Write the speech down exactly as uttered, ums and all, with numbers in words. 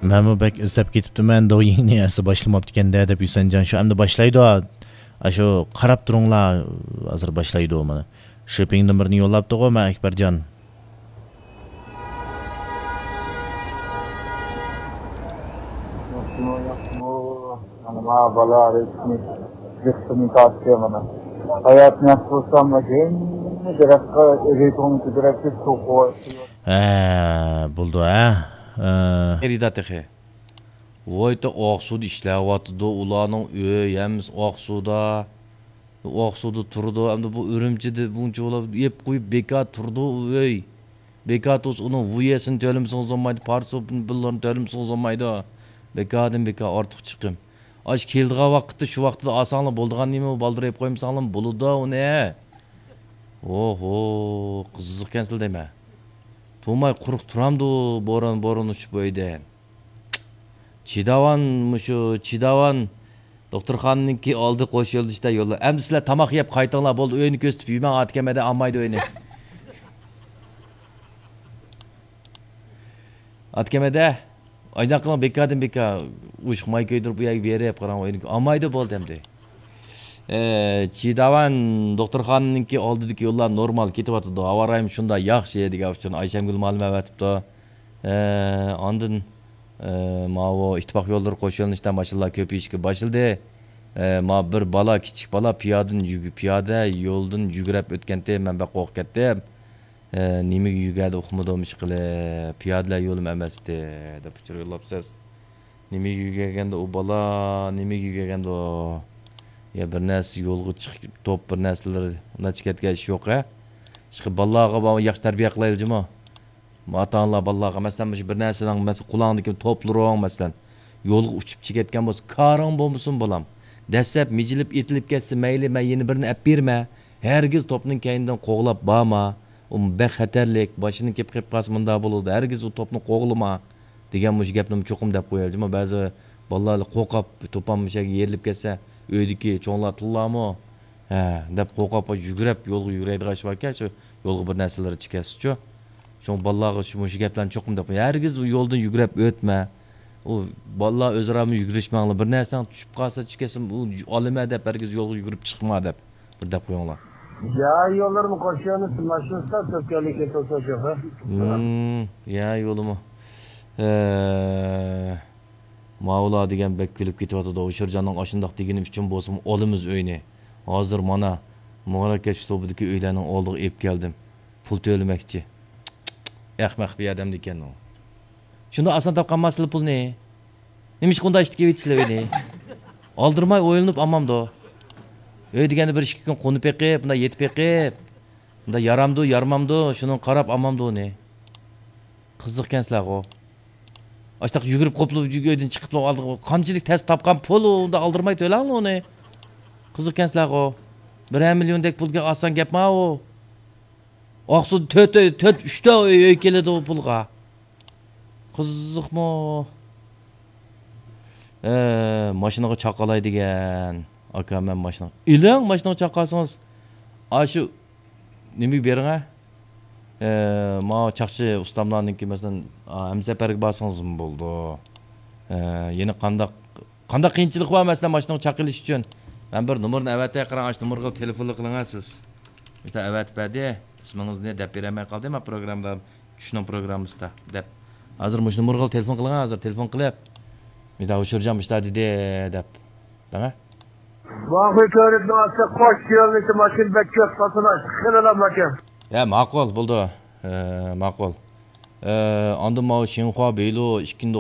مەنمۇ بەك ئىزدەپ كېتىپتىمەن، دويىڭنى ئەسلى باشلىماپتىكەن-دە دەپ، ھۈسەنجان شۇ ئەمدى باشلايدۇ. ئاشۇ قاراپ تۇرۇڭلار، ھازىر باشلايدۇ مانا. شىپپىڭدىن بىرنى يوللاپتىغۇ مانا ئەكبەرجان. ياخشىمۇ، ياخشىمۇ؟ مانا بالا رېسمىي، رېسمىي تارتتى مانا. ھاياتنى ياخشى بولسام، ھەممە دەرەخكە، رېتونى كۆتۈرەتتى، سۇ قۇۋايتتى. ھە، بولدى، ھە. ھە. خېرىدا تېخى. ۋايتا ئاقسۇدا ئىشلەۋاتىدۇ، ئۇلارنىڭ ئۆي ھەممىسى ئاقسۇدا. ئاقسۇدا تۇرىدۇ، ئەمدى بۇ ئۈرۈمچىدە بۇنچە بولاپ يەپ قويۇپ بىكار تۇرىدۇ ئۇ ئۆي. بىكار تۇرسا ئۇنىڭ ۋۇيەسىنى تۆلىمىسىڭىز بولمايدۇ، پارچە پۇللىرىنى تۆلىمىسىڭىز بولمايدۇ. بىكاردىن بىكار ئارتۇق چىقىم. ئاشۇ كېلىدىغان ۋاقىتتا شۇ ۋاقتىدا ئالساڭلار بولىدىغان نېمە، بالدۇر يەپ قويمىساڭلار بولىدۇ ئۇنى. ئوھو، قىزىقكەنسىلەر دەيمەن. تۇرماي قۇرۇق تۇرامدۇ بوران، بوران ئۇچۇپ ئۆيدە. چىداۋان، مۇشۇ چىداۋان دوختۇرخانىنىڭكى ئالدى قوش يۆنىلىشتە يوللار. ئەمدى سىلەر تاماق يەپ قايتىڭلار، بولدى، ئۆينى كۆرسىتىپ يۈرمەڭ، ئاتىكەمەدە ئالمايدۇ ئۆينى. ئاتىكەمەدە، ئايداق قىلىڭ، بىكاردىن بىكار، ئۇششۇق ماي كۆيدۈرۈپ، ئۇ يەرگە بېرىپ قاراڭ، ئۆينى ئالمايدۇ، بولدى ئەمدى. ئە، چىداۋان دوختۇرخانىنىڭكى ئالدىدىكى يوللار نورمال كېتىۋاتىدۇ، ھاۋا رايىمۇ شۇنداق ياخشى دېگەن ئۇچۇرنى ئايشەمگۈل مۇئەللىمە ئەۋەتىپتۇ. ئە، ئاندىن، ئە، ماۋۇ ئىتتىپاق يوللىرى قوش يۆنىلىشتە ماشىنىلار كۆپىيىشكە باشلىدى. ئە، ما بىر بالا، كىچىك بالا پىيادىن يۈگ-، پىيادە يولدىن يۈگۈرۈپ ئۆتكەنتى، مەن بەك قورقۇپ كەتتىم. ئە، نېمىگە يۈگۈردى ئۇقمىدىم، ئىشقىلىپ، پىيادىلەر يولىمۇ ئەمەستى، دەپ ئۇچۇر يوللاپسىز. نېمىگە يۈگۈرگەندۇ ئۇ بالا، نېمىگە يۈگۈرگەندۇ؟ يا بىر نەرسە يولغا چىقىپ، توپ بىر نەرسىلەر، ئۇنداق چىقىۋەتكەن ئىش يوق، ھە؟ ئىشقىلىپ، بالىلارغا بار ياخشى تەربىيە قىلايلى جۇمۇ. ئاتا-ئانىلار بالىلارغا، مەسىلەن، مۇشۇ بىر نەرسىنىڭ، مەسىلەن، قولۇڭدىكى توپلىرىڭ، مەسىلەن، يولغا ئۇچۇپ چىقىۋەتكەن بولسا، كارىڭ بولمىسۇن، بالام. دەسسەپ مىجىلىپ ئېتىلىپ كەتسە، مەيلى، مەن يەنە بىرنى ئەپ بېرىمەن. ھەرگىز توپنىڭ كەينىدىن قوغلاپ بارما. ئۇ بەك خەتەرلىك، باشىنى كېپىپ قېلىپ قالسا مۇنداق بولىدۇ. ھەرگىز ئۇ توپنى قوغلىما، دېگەن مۇشۇ گەپنىمۇ چوقۇم دەپ قويايلى. بەزى بالىلار قورقۇپ، توپام مۇشۇ يەرگە يېرىلىپ كەتسە، ئۆيدىكى چوڭلار تىللارمۇ، ھە، دەپ قورقۇپ، يۈگۈرۈپ يولغا يۈگۈرەيدىغان ئىش باركەن، شۇ يولغا بىر نەرسىلەر چىقىۋەتسىچۇ. شۇڭا بالىلارغا شۇ، مۇشۇ گەپلەرنى چوقۇم دەپ قوياي. ھەرگىز ئۇ يولدىن يۈگۈرۈپ ئۆتمە. ئۇ بالىلار ئۆزئارامۇ يۈگۈرۈشمەڭلار. بىر نەرسەڭ چۈشۈپ قالسا، چۈشۈپ كەتسە، ئۇ ئالىمەن دەپ، ھەرگىز يولغا يۈگۈرۈپ چىقما دەپ بىر دەپ قويۇڭلار. يا يوللىرىمۇ قوش يۆنىلىش ماشىنىسىدا تۆكەنلىك كېتىۋاتىدۇ شوفېر. ھىم، يا يولىمۇ. ئە، ماۋۇلار دېگەن بەك كۈلۈپ كېتىۋاتىدۇ. ھوشۇرجاننىڭ ئاشۇنداق دېگىنى ئۈچۈن بولسىمۇ ئالىمىز ئۆينى. ھازىر مانا مۇبارەك كەچ توپىدىكى ئۆيلەرنىڭ ئالدىغا ئېلىپ كەلدىم. پۇل تۆلىمەكچى. ئەخمەق بىر ئادەم ئىكەن ئۇ. شۇنداق ئاسان تاپقانماسىلەر پۇلنى. نېمىشقا ئۇنداق ئىشتىكى ئېۋىتىسىلەر ئۆينى؟ ئالدىرماي ئويلىنىپ ئالمامدۇ؟ ئۆي دېگەندە بىر ئىككى كۈن قونۇپ بېقىپ، بۇنداق يېتىپ بېقىپ، بۇنداق يارامدۇ، يارىمامدۇ، شۇنىڭغا قاراپ ئالمامدۇ ئۇنى؟ قىزىقكەنسىلەرغۇ. ئاشتاق يۈگۈرۈپ قوپۇپ ئۆيدىن چىقىپلا ئالدىغا، قانچىلىك تەس تاپقان پۇل ئۇ، ئۇنداق ئالدىرماي تۆلەڭلار ئۇنى. قىزىقكەنسىلەرغۇ. بىرەر مىليوندەك پۇل ئاسان گەپما ئۇ. ئاقسۇدا تۆت ئۆي، تۆت، ئۈچتە ئۆي، ئۆي كېلىدۇ ئۇ پۇلغا. قىزىقمۇ؟ ئە، ماشىنىغا چاقالاي دېگەن. ئاكا، مەن ماشىنا. ئېلىڭ، ماشىنىغا چاقالسىڭىز. ئاشۇ نېمىگە بېرىڭە؟ ئە، ماۋۇ چاقچى ئۇستاملارنىڭكى، مەسىلەن، ئا، ھەمسەپەرگە بارسىڭىزمۇ بولىدۇ. ئە، يەنە قانداق، قانداق قىيىنچىلىق بار، مەسىلەن، ماشىنىغا چاقىلىش ئۈچۈن؟ مەن بىر نومۇرنى ئەۋەتەي، قاراڭ، ئاشۇ نومۇرغا تېلېفونلا قىلىڭە سىز. مۇشۇنداق ئەۋەتىپ بەردى. ئىسمىڭىزنى دەپ بېرەلمەي قالدىم، مەن پروگراممىدا، چۈشنىڭ پروگراممىسىدا دەپ. ھازىر مۇشۇ نومۇرغا تېلېفون قىلىڭ، ھازىر تېلېفون قىلىپ. مۇشۇنداق ھوشۇرجان مۇشۇنداق دېدى دەپ. دەڭە. ماڭغۇ كۆرۈپ ماڭسا قوش يۆنىلىشى ماشىنا بەك كۆپ قاتناش، خېلىلا ماكان. يا، ماقۇل، بولدى. ئە، ماقۇل. ئە، ئاندىن ماۋۇ شىنخۇا بېيلۇ ئىككىنچى